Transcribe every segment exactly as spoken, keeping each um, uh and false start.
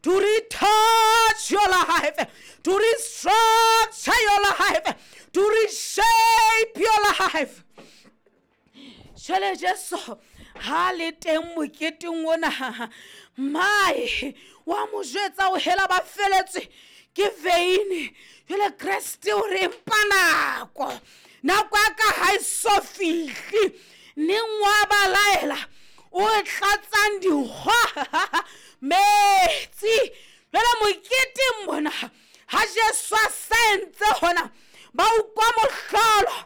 to retouch your life, to restructure your life, to reshape your life. Jwale Jesu ha le teng moketeng ona, mae wa mo jwetsa o hela ba feletswe ke veine. Jwale Kreste o re empa nako, nako ya ka ha e so fihle. Neng wa ba laela o tlatsang dikgwa metsi. Jwale moketeng mona ha Jesu a sa entse hona, ba utlwa mohlolo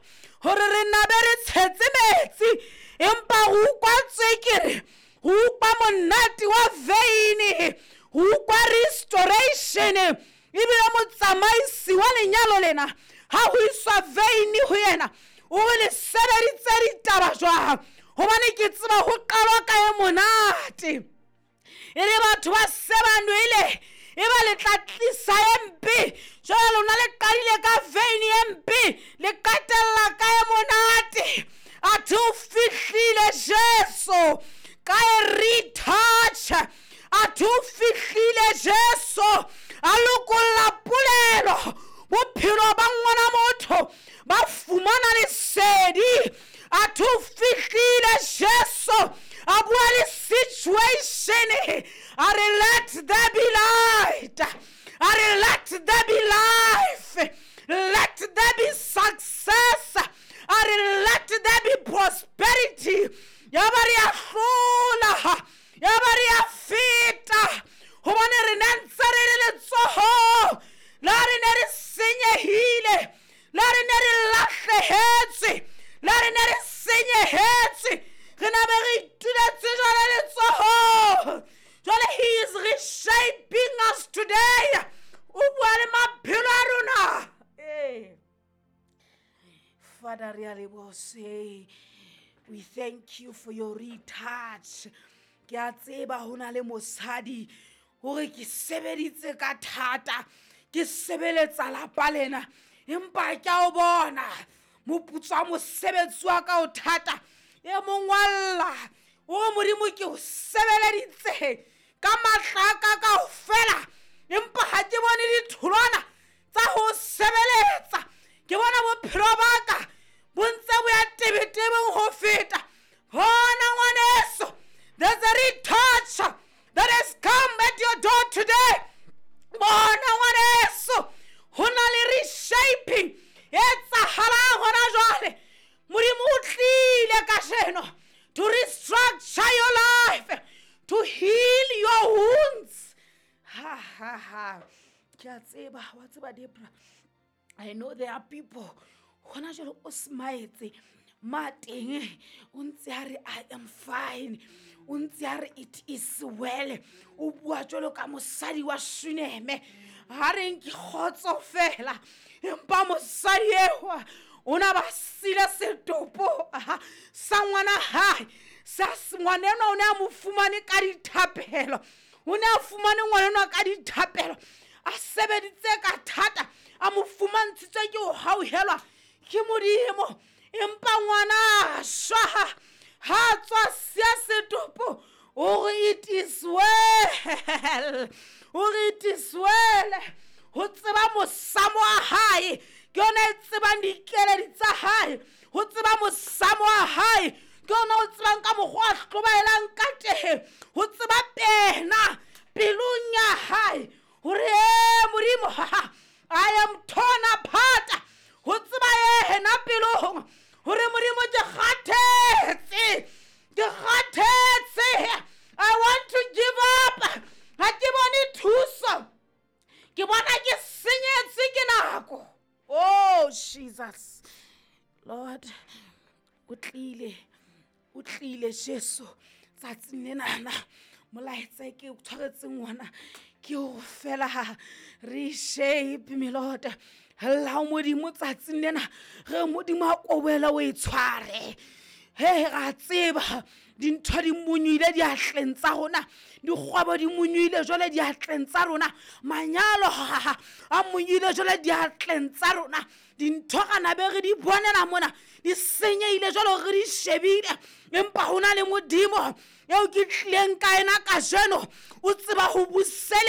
hore re nabe re tshetse metsi, empa re utlwa tswekere, re utlwa monate wa veine, re utlwa restoration. Ebile motsamaisi wa lenyalo lena ha ho iswa veine ho yena, o re le sebeditse ditaba jwang? Hobane ke tseba ho qalwa ka e monate. E re batho ba se ba nwele, e ba le tla tlisa e mpe. Jwale lona le qadile ka veine e mpe, le qetella ka e monate. Athe o fihlile Jesu ka e retouch. Athe o fihlile Jesu a lokolla polelo. Bophelo ba ngwana motho ba fumana lesedi. Athe o fihlile Jesu a bua le situation. A re let there be light. A re let there be life. Let there be success. A re let there be prosperity. Ya ba re a hlola, ya ba re a feta. Hobane re ne ntse re le letsohong la re ne re senyehile, la re ne re lahlehetswe, la re ne re senyehetswe. Re na be re ituletse jwale letsohong. Jwale he is reshaping us today. O bua le maphelo a rona. Eh. Father, re a leboha. We thank you for your retouch. Ke a tseba ho na le mosadi hore ke sebeditse ka thata, ke sebeletsa lapa lena, empa ke a o bona moputso wa mosebetsi wa ka o thata. E mong wa lla o re Modimo ke o sebeleditse ka matla a ka kaofela, empa ha ke bone ditholwana tsa ho sebeletsa. Ke bona bophelo ba ka bo ntse bo ya tebetebeng ho feta. Hona ngwaneso, there's a retouch that has come at your door today. Bona ngwaneso, ho na le reshaping e etsahalang hona jwale. Modimo o tlile kajeno to restructure your life, to heal your wounds. Ha ha ha. Ke a tseba, wa tseba Debra, I know there are people hona jwale o smile ma teng o ntse a re I am fine, o ntse a re it is well. O bua jwalo ka mosadi wa Shuneme, ha reng ke kgotso fela, empa mosadi eo o na ba sile setopo sa ngwana hae. Sa ngwana enwa o ne a mo fumane ka dithapelo, o ne a fumane ngwana enwa ka dithapelo, a sebeditse ka thata, a mo fumantshitswe ke ho hauhelwa ke Modimo. Empa ngwana a shwa, ha tswa siya setopo, o re it is well, o re it is well. Ho tseba mosamo wa hae, ke yona e tsebang dikeledi tsa hae. Ho tseba mosamo wa hae, ke yona o tsebang ka mokgwa a hlobaelang ka teng. Ho tseba pena pelong ya hae hore e Modimo, I am torn apart. Ho tseba yena pelong hore Modimo ke kgathetse, ke kgathetse. I want to give up. Ha ke bone thuso, ke bona ke senyetswe ke nako. Oh Jesus Lord, o tlile, o tlile Jesu tsatsing lenana. Molaetsa ke o tshwaretseng ona ke o fela reshape me Lord. La Modimo tsatsing lena, re Modimo a kobela o e tshware. He ra tseba dintho di monyile diatleng tsa rona, dikgwebo di monyile jwale diatleng tsa rona, manyalo a monyile jwale diatleng tsa rona, dintho kana be re di bonela mona di senyehile jwale re di shebile. Empa ho na le Modimo eo ke tlileng ka ena kajeno, o tseba ho buseletsa.